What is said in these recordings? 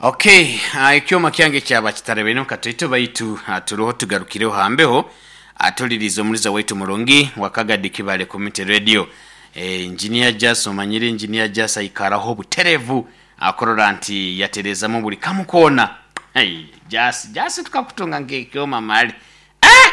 Okay, ah, ekyoma kyange kyaba kitarebaine katoito baitu ah, turoho tugarukireho hambeho atulirize omuliza waitu murungi wa Kagadi Kibale Community Radio. Eh, Engineer Jas omanyire Engineer Jas aikaraho buterevu akurora nti yaterezamu buli kamu koona. Hey, Jas, Jas tukakutunga nk'ekyoma mali. Ah!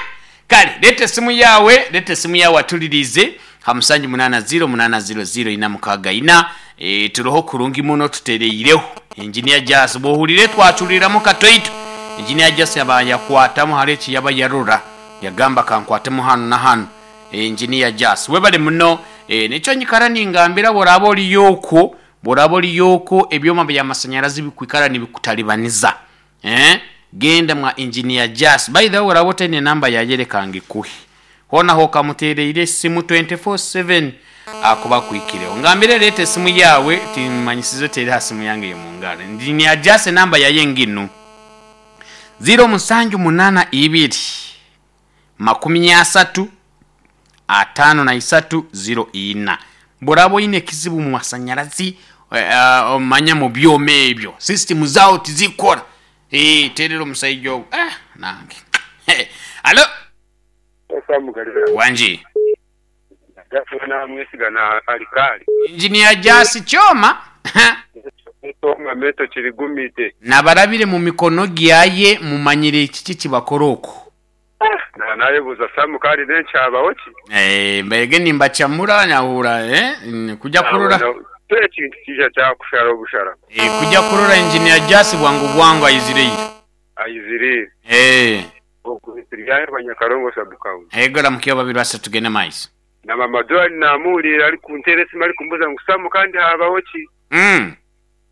Kale leeta esimu yaawe, leeta esimu yaawe atuliriize ha musanju munaana ziro munaana ziro ziro ina mukaaga ina. E, turoho kurungi muno tutereireho. Engineer Jas bw'ohurire twacuriramu katoito. Engineer Jas yaba yakwatamu hariho eki yaba yarora yagamba kankwatemu hanu na hanu. Engineer Jas webale muno. E, nikyo nyikara ningambira bw'oraaba oriyo okwo, bw'oraaba oriyo okwo ebyoma by'amasanyarazi bikwikara nibikutalibaniza. Eeh genda mwa engineer Jas by the way oraba otaine number yaye reka ngikuhe hoona hokamutereire esimu 24/7 akuba akwikireho ngambire reeta esimu yaawe timanyisize oteere aha simu yange eyomungaro engineer Jas enamba yaye nginu ziro musanju munana ibiri 30 53 04. Bw'oraaba oine ekizibu mu masanyarazi, manya mu byoma ebyo, sisitimu zaawe tizikukora, teerera omusaija ogwo. Nange. Halo? Wangi. Engineer Jasi Kyoma. Nabarabire mu mikono gyaye mumanyire kiki kibakora oku. Na nayebuuza Sam kandi n'enki habaho ki? Eh, mbaire nimbacamura nahura eh, kuja kurora. Nawe ekintu kija kyakushara obushara. Eh, kuja kurora engineer Jasi bwangu bwangu aizire ira. Aizire ira. Eh. Ogu nituryahirwa Nyakarongo sub county. Ego ramukiyo babiri basatu tugende maiso. Na mama Joan namuhuriire arikunteera esimu arikumbuuza ngu Sam kandi habaho ki?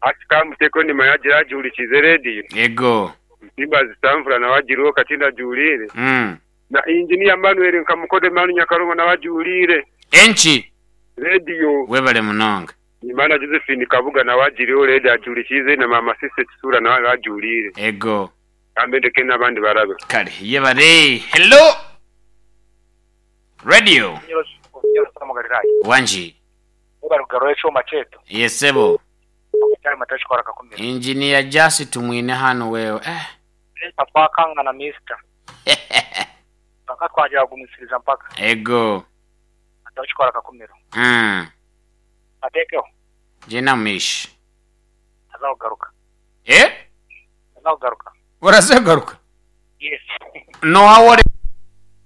Hati kamuteekeho nimanya agira agihurikiize rediyo. Ego. Nsimba zitanvura nawe agiriho katindi agiwuriire. Na Engineer Manuel nka Mukodo Emmanuel Nyakarongo nawe agiwuriire. Enki? Rediyo. Webale munonga. Nimanya Josephine Kabuga nawe agiriho rediyo agiwurikiize na Maama Cissy Kisuura nawe agiwuriire. Ego. Kambe ndeke n'abandi barabeho. Kale yebare. Hello Radio. Wangi. Webale kugaruraho ekyoma kyaitu. Ye sebo. Ekyarima takikora akakumira. Engineer Jasi Tumwine hanu wewe eh. Reka twakangana Mister. Kwonka twagira kugumisiriza mpaka. Ego. Takikora akakumiro. Atekeho. Gyenda mu maisho. Naza kugaruka. Eh? Naza kugaruka. Oraza kugaruka? Yes. Noha ori.